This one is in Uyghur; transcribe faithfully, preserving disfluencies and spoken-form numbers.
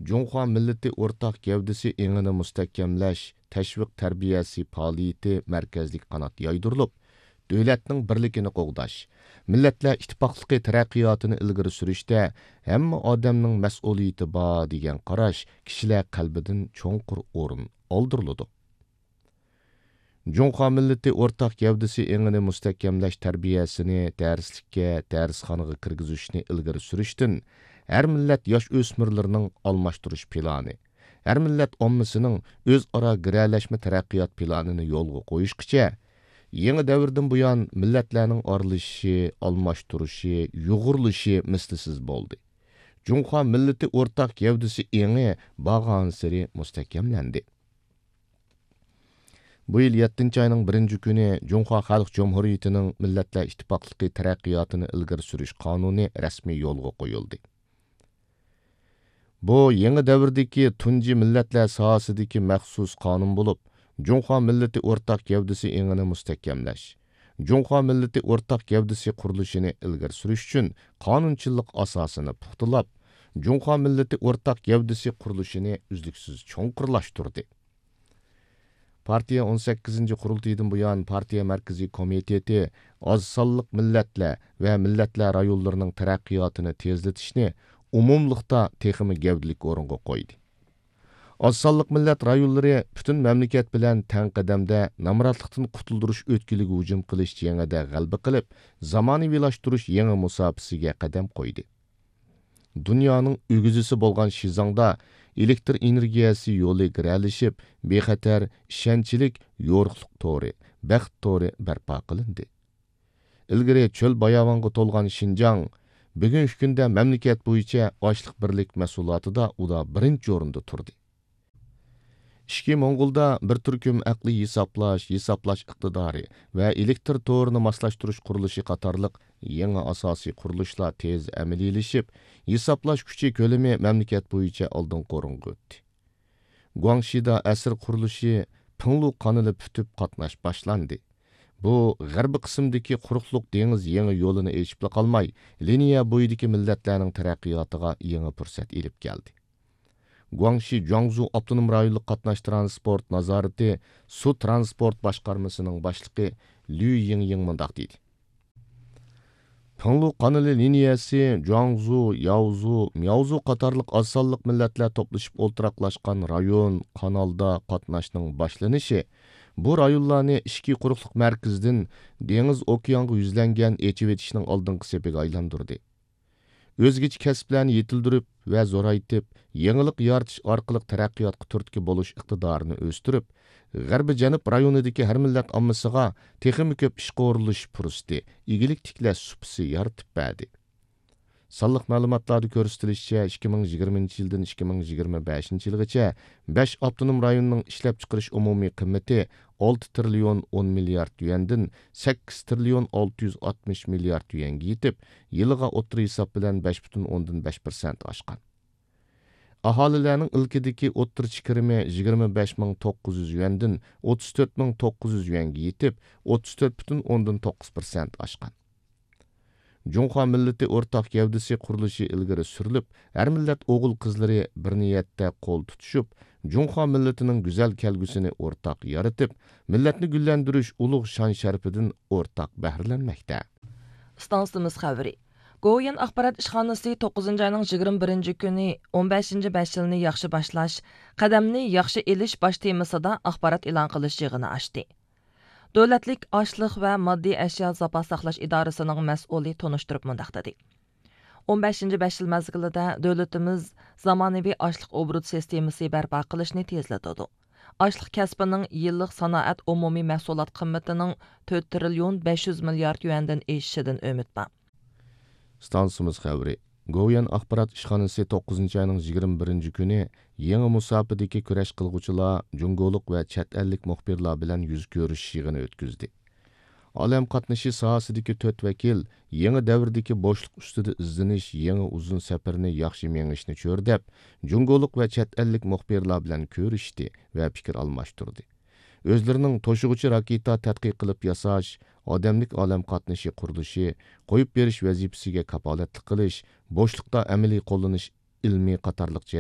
جۇڭخۇا مىللىتى ئورتاق گەۋدىسى ئېڭىنى مۇستەھكەملەش، تەشۋىق تەربىيەسى پائالىيىتى مەركەزلىك قانات يايدۇرۇلۇپ، دۆلەتنىڭ بىرلىكىنى قوغداش، مىللەتلەر ئىتتىپاقلىقى تەرەققىياتىنى ئىلگىرى سۈرۈشتە ھەممە ئادەمنىڭ مەسئۇلىيىتى بار دېگەن قاراش كىشىلەر قەلبىدىن چوڭقۇر ئورۇن ئالدۇرۇلىدۇ. جۇڭخۇا مىللىتى ئورتاق گەۋدىسى ئېڭىنى مۇستەھكەملەش تەربىيەسىنى دەرسلىككە، دەرسخانىغا كىرگۈزۈشنى ئىلگىرى سۈرۈشتىن، ھەر مىللەت ياش ئۆسمۈرلىرىنىڭ ئالماشتۇرۇش پىلانى، ھەر مىللەت ئاممىسىنىڭ ئۆزئارا گىرەلەشمە تەرەققىيات پىلانىنى يولغا قويۇشقىچە، يېڭى دەۋردىن بۇيان مىللەتلەرنىڭ ئارىلىشىشى، ئالماشتۇرۇشى، يۇغۇرۇلۇشى مىسلىسىز بولدى. جۇڭخۇا مىللىتى ئورتاق گەۋدىسى ئېڭى بارغانسېرى مۇستەھكەملەندى. بۇ يىل يەتتىنچى ئاينىڭ بىرىنچى كۈنى جۇڭخۇا خەلق جۇمھۇرىيىتىنىڭ مىللەتلەر ئىتتىپاقلىقى تەرەققىياتىنى ئىلگىرى سۈرۈش قانۇنى رەسمىي يولغا قويۇلدى. بۇ يېڭى دەۋردىكى تۇنجى مىللەتلەر ساھەسىدىكى مەخسۇس قانۇن بولۇپ، جۇڭخۇا مىللىتى ئورتاق گەۋدىسى ئېڭىنى مۇستەھكەملەش، جۇڭخۇا مىللىتى ئورتاق گەۋدىسى قۇرۇلۇشىنى ئىلگىرى سۈرۈش ئۈچۈن قانۇنچىللىق ئاساسىنى پۇختىلاپ، جۇڭخۇا مىللىتى ئورتاق گەۋدىسى قۇرۇلۇشىنى ئۈزلۈكسىز چوڭقۇرلاشتۇردى. پارتىيە ئون سەككىزىنچى قۇرۇلتىيىدىن بۇيان پارتىيە مەركىزىي كومىتېتى ئاز سانلىق مىللەتلەر ۋە مىللەتلەر رايونلىرىنىڭ تەرەققىياتىنى تېزلىتىشنى ئومۇملۇقتا تېخىمۇ گەۋدىلىك ئورۇنغا قويدى. ئاز سانلىق مىللەت رايونلىرى پۈتۈن مەملىكەت بىلەن تەڭ قەدەمدە نامراتلىقتىن قۇتۇلدۇرۇش ئۆتكىلىگە ھۇجۇم قىلىش جېڭىدە غەلىبە قىلىپ، زامانىۋىلاشتۇرۇش يېڭى مۇساپىسىگە قەدەم قويدى. دۇنيانىڭ ئۆگزىسى بولغان شىزاڭدا ئېلېكتر ئېنېرگىيەسى يولى گىرەلىشىپ، بىخەتەر، ئىشەنچلىك يورۇقلۇق تورى، بەخت تورى بەرپا قىلىندى. ئىلگىرى چۆل باياۋانغا تولغان شىنجاڭ بۈگۈنكى كۈندە مەملىكەت بويىچە ئاشلىق بىرلىك مەھسۇلاتىدا ئۇدا بىرىنچى ئورۇندا تۇردى. ئىچكى موڭغۇلدا بىر تۈركۈم ئەقلىي ھېسابلاش، ھېسابلاش ئىقتىدارى ۋە ئېلېكتر تورىنى ماسلاشتۇرۇش قۇرۇلۇشى قاتارلىق يېڭى ئاساسىي قۇرۇلۇشلار تېز ئەمەلىيلىشىپ، ھېسابلاش كۈچى كۆلىمى مەملىكەت بويىچە ئالدىنقى ئورۇنغا ئۆتتى. گۇاڭشىدا ئەسىر قۇرۇلۇشى پىڭلۇ قانىلى پۈتۈپ، قاتناش باشلاندى. بۇ غەربىي قىسىمدىكى قۇرۇقلۇق دېڭىز يېڭى يولىنى ئېچىپلا قالماي، لىنىيە بويىدىكى مىللەتلەرنىڭ تەرەققىياتىغا يېڭى پۇرسەت ئېلىپ كەلدى. گۇاڭشى جۇاڭزۇ ئاپتونوم رايونلۇق قاتناش ترانسپورت نازارىتى سۇ ترانسپورت باشقارمىسىنىڭ باشلىقى ليۇ يىڭيىڭ مۇنداق دېدى: پىڭلۇ قانىلى لىنىيەسى جۇاڭزۇ، ياۋزۇ، مياۋزۇ قاتارلىق ئاز سانلىق مىللەتلەر توپلىشىپ ئولتۇراقلاشقان رايون، قانالدا قاتناشنىڭ باشلىنىشى بۇ رايونلارنى ئىچكى قۇرۇقلۇق مەركىزىدىن دېڭىز ئوكيانغا يۈزلەنگەن ئېچىۋېتىشنىڭ ئالدىنقى سېپىگە ئايلاندۇردى. ئۆزگىچە كەسىپلەرنى يېتىلدۈرۈپ ۋە زورايتىپ، يېڭىلىق يارىتىش ئارقىلىق تەرەققىياتقا تۈرتكە بولۇش ئىقتىدارىنى ئۆستۈرۈپ، غەربىي جەنۇب رايونىدىكى ھەر مىللەت ئاممىسىغا تېخىمۇ كۆپ ئىشقا ئورۇنلىشىش پۇرسىتى، ئىگىلىك تىكلەش سۇپىسى يارىتىپ بەردى. سانلىق مەلۇماتلاردا كۆرسىتىلىشىچە، ئىككى مىڭ يىگىرمىنچى يىلدىن ئىككى مىڭ يىگىرمە بەشىنچى يىلغىچە بەش ئاپتونوم رايوننىڭ ئىشلەپچىقىرىش ئومۇمىي قىممىتى ئالتە تىرىليون ئون مىليارد يۈەندىن سەككىز تىرىليون ئالتە يۈز ئاتمىش مىليارد يۈەنگە يېتىپ، يىلىغا ئوتتۇرا ھېساب بىلەن بەش پۈتۈن ئوندىن بەش پىرسەنت ئاشقان. ئاھالىلەرنىڭ ئىلكىدىكى ئوتتۇرىچە كىرىمى يىگىرمە بەش مىڭ توققۇز يۈز يۈەندىن ئوتتۇز تۆت مىڭ توققۇز يۈز يۈەنگە يېتىپ، ئوتتۇز تۆت پۈتۈن ئوندىن توققۇز پىرسەنت ئاشقان. جۇڭخۇا مىللىتى ئورتاق گەۋدىسى قۇرۇلۇشى ئىلگىرى سۈرۈلۈپ، ھەر مىللەت ئوغۇل-قىزلىرى بىر نىيەتتە قول تۇتۇشۇپ، جۇڭخۇا مىللىتىنىڭ گۈزەل كەلگۈسىنى ئورتاق يارىتىپ، مىللەتنى گۈللەندۈرۈش ئۇلۇغ شان-شەرىپىدىن ئورتاق بەھرىلەنمەكتە. ئىستانسىمىز خەۋىرى. گوۋۇيۈەن ئاخبارات ئىشخانىسى توققۇزىنچى ئاينىڭ يىگىرمە بىرىنچى كۈنى، ئون بەشىنچى بەش يىلنى ياخشى باشلاش، قەدەمنى ياخشى ئېلىش باش تېمىسىدا ئاخبارات ئېلان قىلىش يىغىنى ئاچتى. دۆلەتلىك ئاشلىق ۋە ماددىي ئەشيا زاپاس ساقلاش ئىدارىسىنىڭ مەسئۇلى تونۇشتۇرۇپ مۇنداق دېدى: ئون بەشىنچى بەش يىل مەزگىلىدە دۆلىتىمىز زامانىۋى ئاشلىق ئوبوروت سىستېمىسى بەرپا قىلىشنى تېزلىتىدۇ. ئاشلىق كەسپىنىڭ يىللىق سانائەت ئومۇمىي مەھسۇلات قىممىتىنىڭ تۆت تىرىليون بەش يۈز مىليارد يۈەندىن ئېشىشىدىن ئۈمىد بار. ئىستانسىمىز خەۋىرى. گوۋۇيۈەن ئاخبارات ئىشخانىسى توققۇزىنچى ئاينىڭ يىگىرمە بىرىنچى كۈنى يېڭى مۇساپىدىكى كۈرەش قىلغۇچىلار جۇڭگولۇق ۋە چەت ئەللىك مۇخبىرلار بىلەن يۈز كۆرۈشۈش يىغىنى ئۆتكۈزدى. ئالەم قاتنىشى ساھەسىدىكى تۆت ۋەكىل يېڭى دەۋردىكى بوشلۇق ئۈستىدە ئىزدىنىش، يېڭى ئۇزۇن سەپىرىنى ياخشى مېڭىشنى چۆرىدەپ، جۇڭگولۇق ۋە چەت ئەللىك مۇخبىرلار بىلەن كۆرۈشتى ۋە پىكىر ئالماشتۇردى. ئۆزلىرىنىڭ توشۇغۇچى راكېتا تەتقىق قىلىپ ياساش، ئادەملىك ئالەم قاتنىشى قۇرۇلۇشى، قويۇپ بېرىش ۋەزىپىسىگە كاپالەتلىك قىلىش، بوشلۇقتا ئەمەلىي قوللىنىش ئىلمى قاتارلىق